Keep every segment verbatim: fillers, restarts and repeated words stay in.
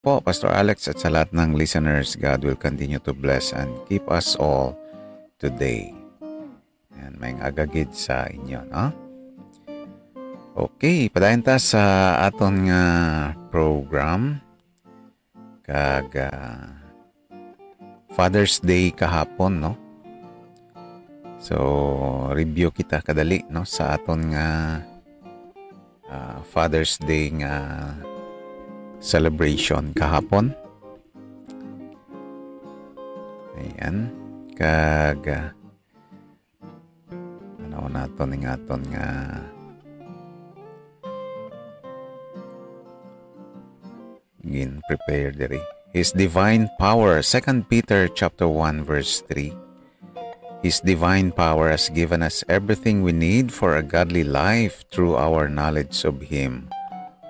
po, Pastor Alex, at sa lahat ng listeners. God will continue to bless and keep us all today. Yan, may agagid sa inyo, no? Okay, padayon ta sa aton nga program. Kag, ah, Father's Day kahapon, no? So, review kita kadali, no, sa aton nga, ah, Father's Day nga celebration kahapon. Ayan. Kag, ah, ano naton ning aton nga gin-prepare diri. His divine power, Second Peter chapter one verse three. His divine power has given us everything we need for a godly life through our knowledge of Him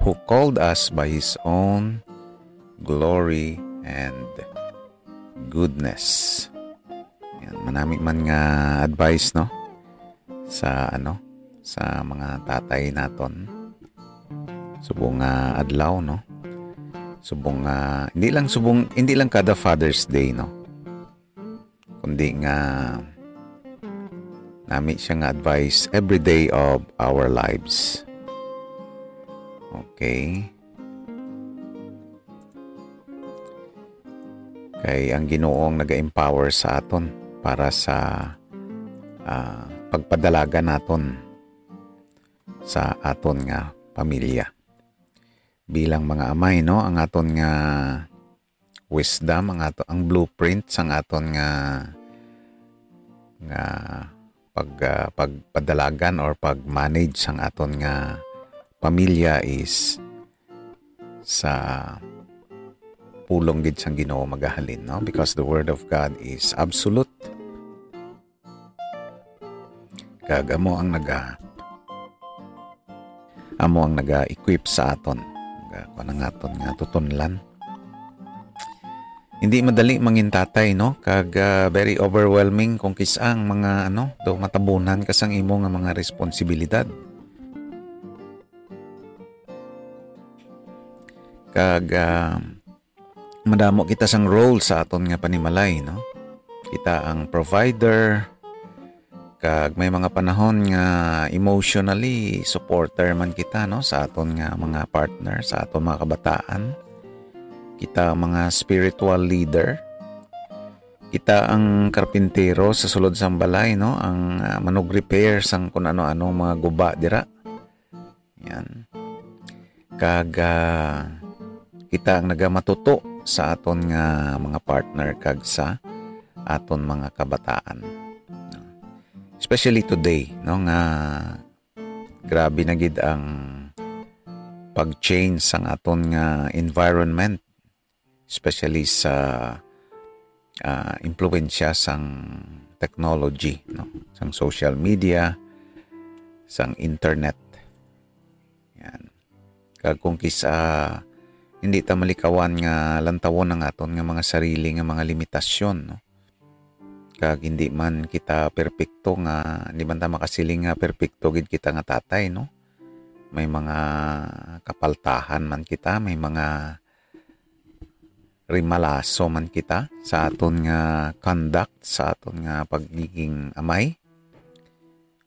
who called us by His own glory and goodness. Yan, manami man nga advice, no? Sa, ano, sa mga tatay naton. Subong nga adlaw, no? Subong nga, hindi lang subong, hindi lang kada Father's Day, no? Kundi nga nami siya nga advice every day of our lives. Okay? Kay ang Ginoo ang naga-empower sa aton para sa, ah, pagpadalagan naton sa aton nga pamilya. Bilang mga amay, no, ang aton nga wisdom, ang ato, ang blueprint sang aton nga, nga pag, ah, pagpadalagan or pag-manage sang aton nga pamilya is sa pulong gid sang Ginoo magahalin, no? Because the word of God is absolute. Kag amo ang naga-, amo ang naga-equip sa aton. Naga-, kuwan ang aton nga tutunlan. Hindi madali mangin tatay, no? Kag, ah, very overwhelming kung kis-a ang mga, ano, daw matabunan ka sang imo nga mga responsibilidad. Kag, ah, madamo kita sang role sa aton nga panimalay, no? Kita ang provider, kag may mga panahon nga emotionally supporter man kita, no, sa aton nga mga partner, sa aton mga kabataan. Kita ang mga spiritual leader. Kita ang karpintero sa sulod sang balay, no, ang, ah, manug-repair sang kun ano-ano mga guba dira. Yan. Kag, ah, kita ang nagamatuto sa aton nga mga partner kag sa aton mga kabataan. Especially today, no, nga grabe na gid ang pag-change sang aton nga environment, especially sa, ah, impluwensya sang technology, no? Sang social media, sang internet. Yan. Kag kung kis-a hindi ta malikawan nga lantawon ang aton nga mga sarili nga mga limitasyon, no? Kag hindi man kita perpekto nga, hindi man ta makasiling nga perpekto gid kita nga tatay, no? May mga kapaltahan man kita, may mga rimalaso man kita sa aton nga conduct, sa aton nga pagiging amay.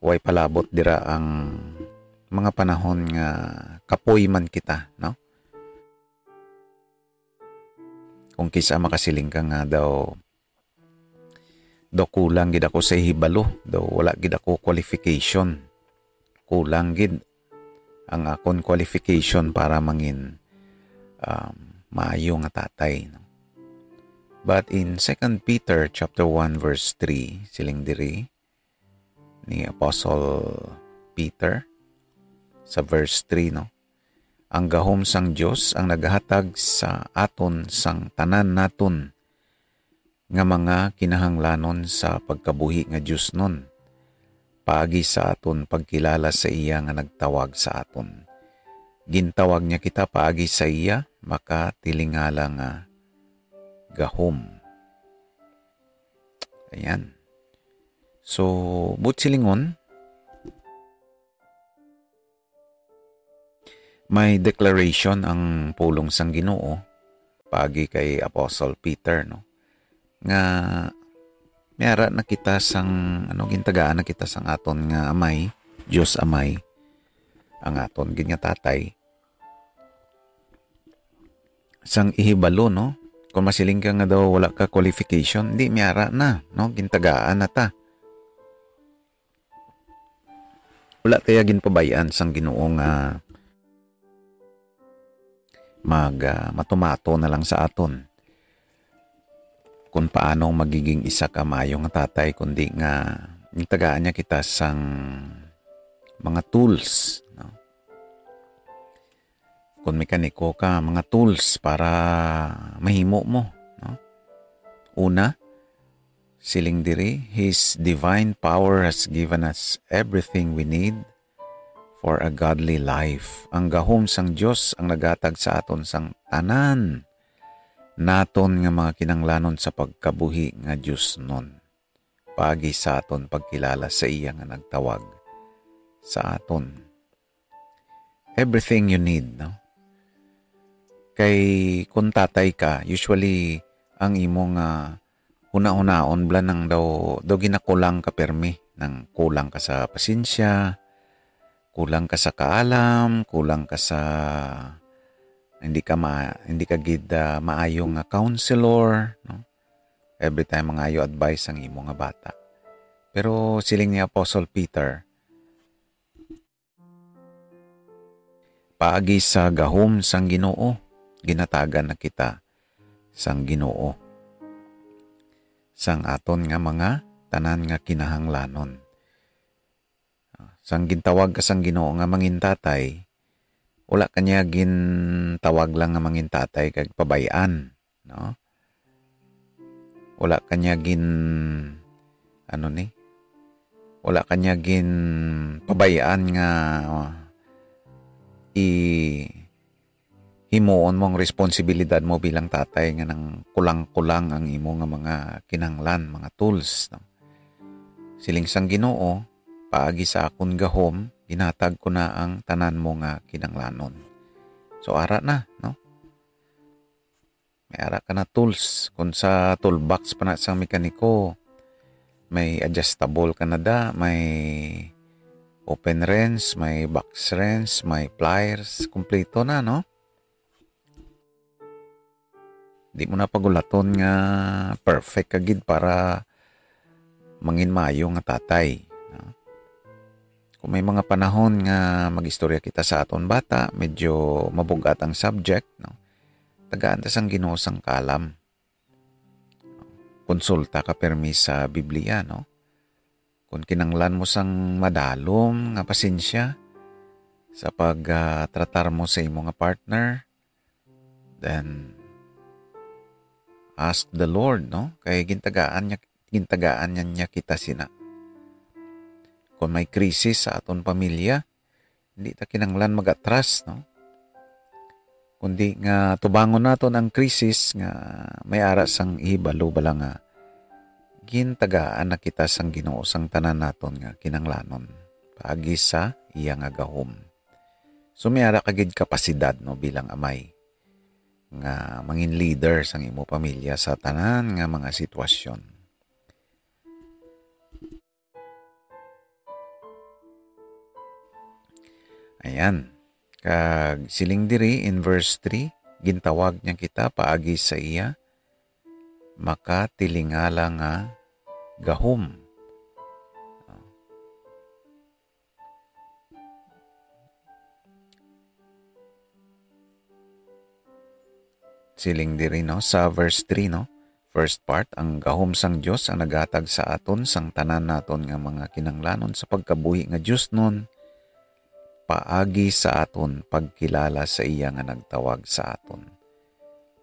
Way palabot dira ang mga panahon nga kapoy man kita, no? Kung kis-a makasiling ka nga daw, daw kulang gid ako sa hibalo, daw wala gid ako qualification. Kulang gid ang akon qualification para mangin, um, maayo nga tatay, no? But in Second Peter chapter one verse three, siling diri ni Apostle Peter sa verse three, no? Ang gahom sang Dios ang naghatag sa aton sang tanan naton nga mga kinahanglanon sa pagkabuhi nga diosnon, paagi sa aton pagkilala sa iya nga nagtawag sa aton. Gintawag niya kita paagi sa iya makatilingala nga gahom. Ayan. So, buot silingon, may declaration ang pulong sang Ginoo paagi kay Apostle Peter, no? Nga may ara na kita sang, ano, gintagaan na kita sang aton nga Amay, Dios Amay, ang aton gid nga Tatay. Sang ihibalo, no? Kung masiling ka nga daw wala ka qualification, di, may ara na, no? Gintagaan na ta. Wala tayo ginpabayan sang Ginoo nga mag, ah, matumato na lang sa aton kung paano magiging isa ka maayo nga tatay, kundi nga gintagaan niya kita sang mga tools, no? Kung mekaniko ka, mga tools para mahimo mo, no? Una, siling diri, "His divine power has given us everything we need for a godly life." Ang gahom sang Dios ang naghatag sa aton sang tanan naton nga mga kinahanglanon sa pagkabuhi nga diosnon, paagi sa aton pagkilala sa iya nga nagtawag sa aton. Everything you need, no? Kay kung tatay ka, usually ang imo nga hunahunaon bala nang daw, daw ginakulang ka permi, nang kulang ka sa pasensya, kulang ka sa kaalam, kulang ka sa, hindi ka ma-, hindi ka gid, ah, maayo nga counselor, no? Every time mangayo advice ang imo nga bata. Pero siling ni Apostle Peter, paagi sa gahom sang Ginoo, ginatagan na kita sang Ginoo sang aton nga mga, tanan nga kinahanglanon. Sang gintawag ka sang Ginoo nga mangin tatay, wala ka niya gintawag lang nga mangin tatay kag pabay-an, no? Wala ka niya gin-, ano ni? Wala ka niya ginpabayaan nga i-, himuon mo ang responsibilidad mo bilang tatay nga nang kulang-kulang ang imo nga mga kinahanglan, mga tools, no? Siling sang Ginoo, "Paagi sa akon gahom, ginhatag ko na ang tanan mo nga kinahanglanon." So, ara na, no? May ara ka na tools. Kung sa toolbox pa na sang mekaniko, may adjustable ka na da, may open wrench, may box wrench, may pliers, kompleto na, no? Di mo na pagulaton nga perfect ka gid para mangin maayo nga tatay, no? Kung may mga panahon nga mag-istorya kita sa aton bata, medyo mabug-at ang subject, no? Tagaan ta sang Ginoo sang kalam. Konsulta ka permi sa Biblia, no? Kung kinanglan mo sang madalom nga pasensya sa pag, ah, tratar mo sa imo nga partner, then ask the Lord, no? Kay gintagaan niya, gintagaan niya, niya kita sina. Kung may krisis sa aton pamilya, hindi ta kinanglan mag-atras, no? Kundi nga tubangon naton ang krisis nga may ara sang ihibalo bala nga gintagaan na kita sang Ginoo sang tanan naton nga kinanglanon paagi sa iya nga gahom. So, may ara ka gid kapasidad, no, bilang amay nga mangin leader sang imo pamilya sa tanan nga mga sitwasyon. Ayan. Kag siling diri in verse three, gintawag niya kita paagi sa iya makatilingala nga gahom. Siling diri, no, sa verse three, no? First part, ang gahom sang Dios ang naghatag sa aton sang tanan naton nga mga kinanglanon sa pagkabuhi nga diosnon, paagi sa aton pagkilala sa iya nga nagtawag sa aton.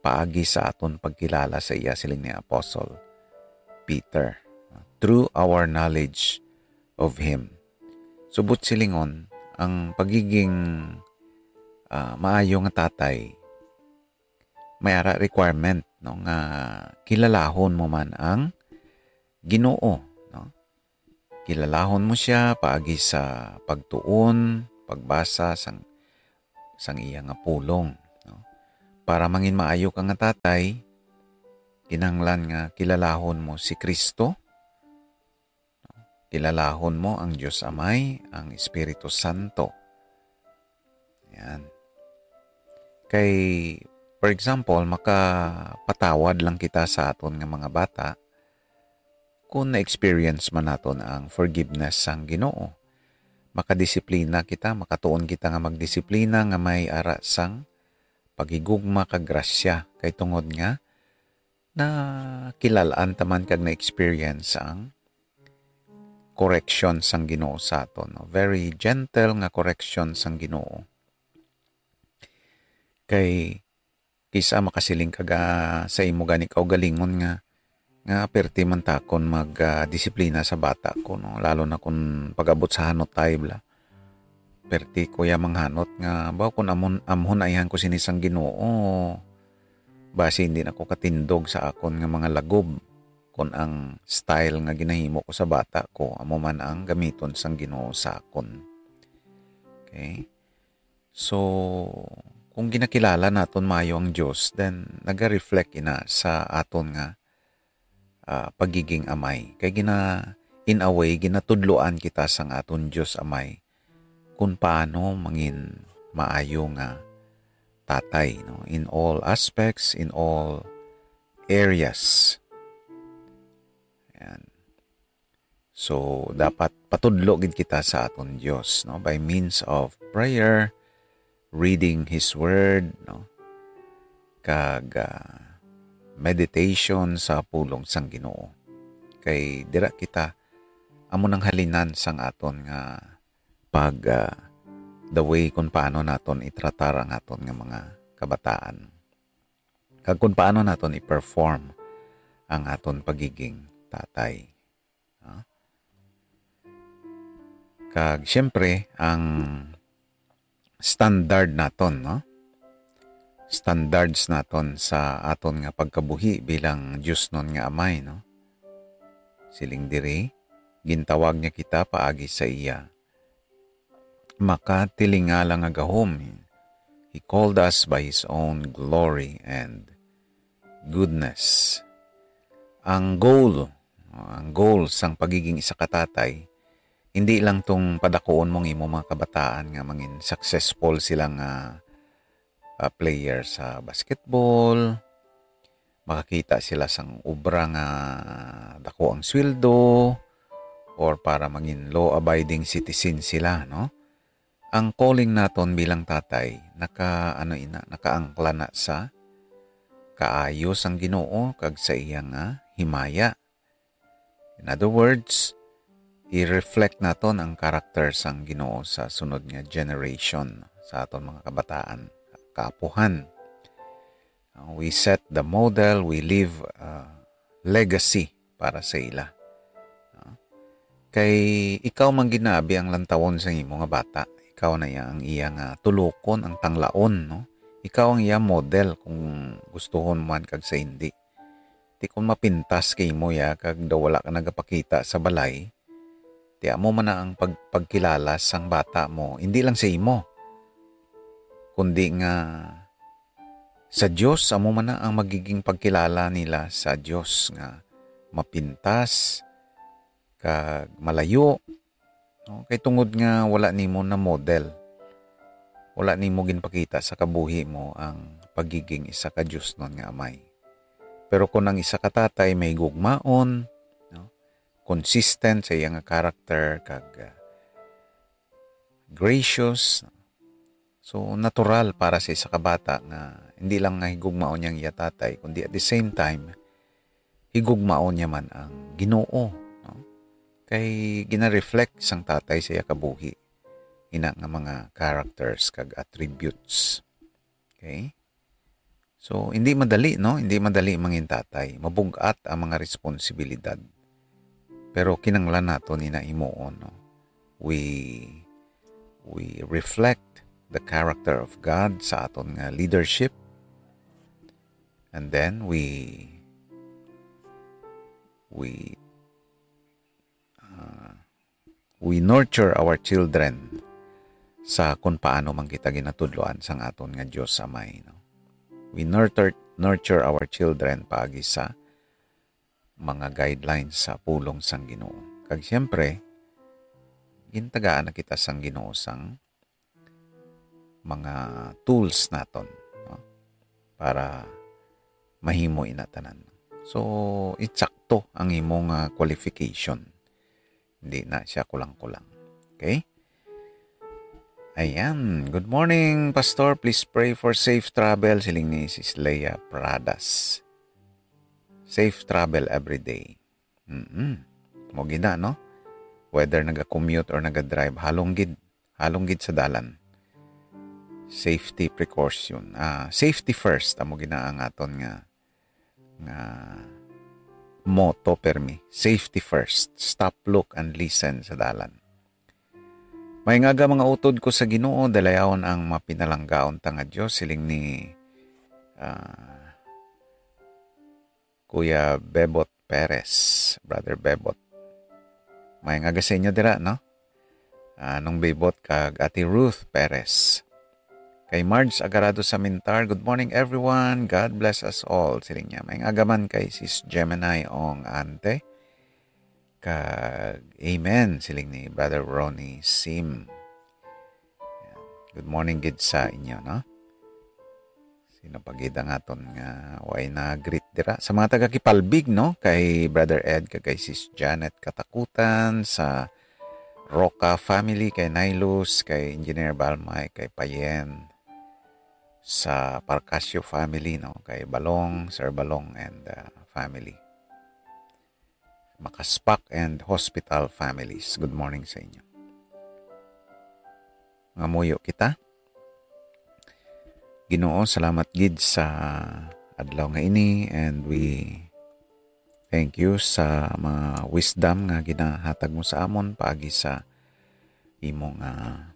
Paagi sa aton pagkilala sa iya, siling ni Apostle Peter, through our knowledge of him. Subot silingon, ang pagiging, ah, maayo nga tatay, may ara requirement, no, nga kilalahon mo man ang Ginoo, no? Kilalahon mo siya paagi sa pagtuon, pagbasa sang, sang iya nga pulong, no? para mangin maayo ka nga tatay, kinahanglan nga kilalahon mo si Kristo, kilalahon mo ang Dios Amay, ang Espiritu Santo. Yan. Kay, for example, makapatawad lang kita sa aton nga mga bata kung na-experience man naton ang forgiveness sang Ginoo. Makadisiplina kita, makatuon kita nga magdisiplina nga may ara sang paghigugma kag grasya, kay tungod nga nakilal-an ta man kag na-experience ang correction sang Ginoo sa aton, no? Very gentle nga correction sang Ginoo. Kay kisa makasiling ka ga-, sa imo gani kaugalingon nga, nga perti man takon mag, ah, disiplina sa bata ko, no? Lalo na kung pag-abot sa hanot tayo, bla. Perti ko ya manghanot nga, baw, kung amon-, amhon aihan ko sini sang Ginoo, basi hindi na ko katindog sa akon nga mga lagob, kung ang style nga ginahimo ko sa bata ko, amo man ang gamiton sang Ginoo sa akon. Okay? So, kung ginakilala naton maayo ang Dios, then naga-reflect ina sa aton nga, ah, pagiging amay. Kay gina-, in a way, ginatudloan kita sang aton Dios Amay kung paano mangin maayo nga tatay, no? In all aspects, in all areas. Ayan. So, dapat patudlo gid kita sa aton Dios, no? By means of prayer, reading His Word, no? Kag, ah, meditation sa pulong sang Ginoo. Kay dira kita, amo nang halinan sang aton nga pag, ah, the way kung paano naton itratar ang aton nga mga kabataan. Kag kung paano naton i-perform ang aton pagiging tatay. Ah. Kag siyempre, ang standard naton, no? Standards naton sa aton nga pagkabuhi bilang diosnon nga amay, no? Siling diri, gintawag niya kita paagi sa iya makatilingala nga gahom. He called us by His own glory and goodness. Ang goal, ang goal sang pagiging isa ka tatay, hindi lang tong padakuon mo ang imo mga kabataan nga mangin successful sila nga, ah, player sa basketball, makakita sila sang obra nga dako ang sweldo, or para mangin law-abiding citizen sila, no? Ang calling naton bilang tatay, naka, ano ina, nakaangkla na sa kaayo sang Ginoo kag sa iya nga himaya. In other words, i-reflect naton ang karakter sang Ginoo sa sunod nga generation, sa aton mga kabataan, kaapuhan. Uh, we set the model, we leave, uh, legacy para sa ila. Uh, kay ikaw man gid na abi ang lantawon sa imo nga bata. Ikaw na iya ang iya nga tulokon, ang tanglaon, no? Ikaw ang iya model kung gustuhon mo man kag sa hindi. Ti kung mapintas kay imo ya kag daw wala ka nagapakita sa balay, ti amo man na ang pag-, pagkilala sang bata mo, hindi lang sa imo, kundi nga sa Dios, amo man na ang magiging pagkilala nila sa Dios nga mapintas kag malayo, no? Kay tungod nga wala nimo na model, wala nimo ginpakita sa kabuhi mo ang pagiging isa ka diosnon nga amay. Pero kung ang isa ka tatay mahigugmaon, no? Consistent sa iya nga character kag, ah, gracious, so natural para sa isa ka bata nga hindi lang nga higugmaon niya ang iya tatay, kundi at the same time, higugmaon niya man ang Ginoo, no? Kay gina-reflect sang tatay sa iya kabuhi ina nga mga characters kag attributes. Okay? So, hindi madali, no? Hindi madali mangin tatay. Mabug-at ang mga responsibilidad. Pero kinanglan naton ina himuon, no? We, we reflect the character of God sa aton nga leadership. And then we, we, uh, we nurture our children sa kung paano man kita ginatudloan sang aton nga Dios Amay, no? We nurture, nurture our children paagi sa mga guidelines sa pulong sang Ginoo. Kag siyempre, gintagaan na kita sang Ginoo sang mga tools naton, no? Para mahimo ina tanan. So, insakto ang imo nga qualification. Hindi na siya kulang-kulang. Okay? Ayan. "Good morning, Pastor. Please pray for safe travel," siling ni Sis Leia Pradas. Safe travel every day. Mm-mm. Mo gina, no? Whether naga-commute or naga-drive, halong gid, halong gid sa dalan. Safety precaution. Ah, safety first, amo gina ang aton nga, nga motto permi. Safety first. Stop, look, and listen sa dalan. "May ngaga mga utod ko sa Ginoo, dalayawon ang mapinalanggaon ta nga Dios," siling ni, ah, Kuya Bebot Perez, Brother Bebot. May ngaga sa inyo dira, no? Anong Bebot kag Ate Ruth Perez. Kay Marge Agarado Samintar, "Good morning, everyone. God bless us all," siling niya. May ngaga man kay Sis Gemini Ong Ante. Kag amen, siling ni Brother Ronnie Sim. Yan. Good morning gid sa inyo, no? Sino pa gid ang aton nga way na greet dira? Sa mga taga Kipalbig, no? Kay Brother Ed, kag kay Sis Janet Katakutan, sa Roca family, kay Nailus, kay Engineer Balmay, kay Payen, sa Parcasio family, no? Kay Balong, Sir Balong, and, uh, family. Makaspak and hospital families. Good morning sa inyo. Ngamuyo kita. Ginoo, salamat gid sa adlaw nga ini, and we thank you sa mga wisdom nga ginahatag mo sa amon paagi sa imong, ah,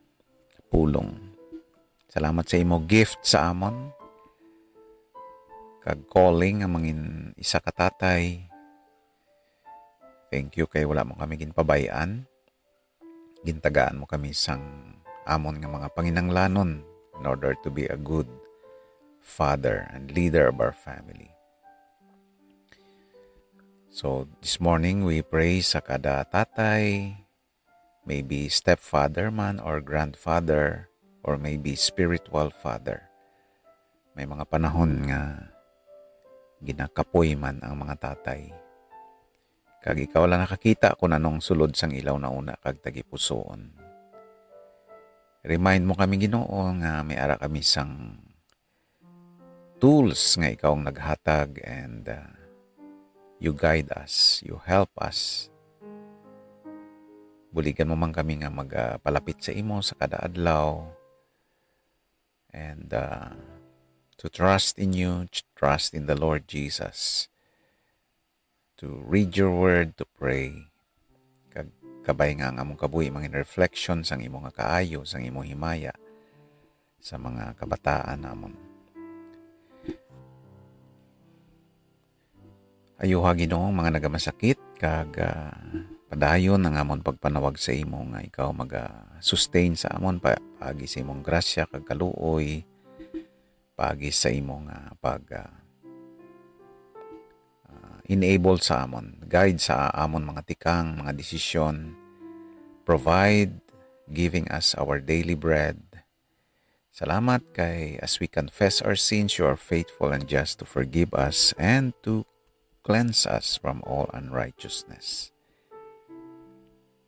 pulong. Salamat sa imo gift sa amon kag calling nga mangin isa ka tatay. Thank you kay wala mo kami ginpabay-an. Gintagaan mo kami sang amon nga mga panginahanglanon in order to be a good father and leader of our family. So, this morning, we pray sa kada tatay, maybe stepfather man or grandfather, or maybe spiritual father. May mga panahon nga ginakapoy man ang mga tatay. Kag ikaw lang nakakita kung anong sulod sang ilaw na una kag tagipusoon. Remind mo kami, Ginoo, nga may ara kami sang tools nga ikaw ang naghatag, and, uh, you guide us, you help us. Buligan mo man kami nga magpalapit sa imo sa kada adlaw, and, uh, to trust in you, tr-, trust in the Lord Jesus, to read your word, to pray. Kag kabay nga ang among kabuhi mangin reflection sang imo nga kaayo, sang imo himaya sa mga kabataan namon. Ayuha, Ginoo, ang mga nagamasakit, kag, ah, padayon ang amon pagpanawag sa imo nga ikaw maga-sustain sa amon pa-, paagi sa imong grasya kag kaluoy, paagi sa imo nga pag, ah, ah, enable sa amon, guide sa amon mga tikang, mga desisyon, provide, giving us our daily bread. Salamat kay as we confess our sins, you are faithful and just to forgive us and to cleanse us from all unrighteousness.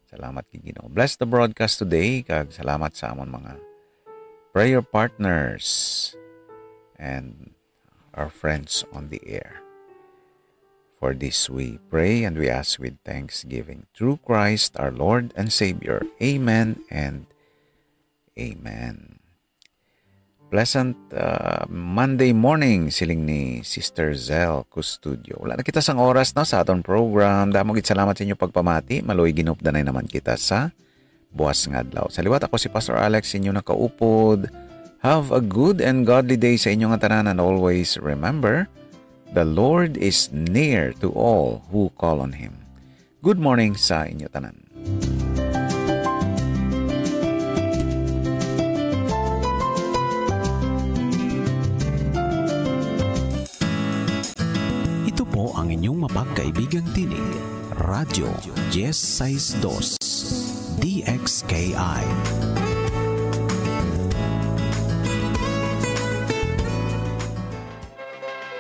Salamat kay Ginoo. Bless the broadcast today, kag salamat sa amon mga prayer partners and our friends on the air. For this we pray and we ask with thanksgiving through Christ our Lord and Savior. Amen and amen. Pleasant, uh, Monday morning, siling ni Sister Zell Custodio. Wala na kita sang oras, no, sa aton program. Damo gid salamat sa inyo pagpamati. Maluoy ginupdanay naman kita sa buas nga adlaw. Sa liwat, ako si Pastor Alex, inyo nakaupod. Have a good and godly day sa inyo nga tanan, and always remember, the Lord is near to all who call on Him. Good morning sa inyo tanan. Amo ang inyong mapagkaibigang tinig, Radyo Diez Seis Dos, D X K I.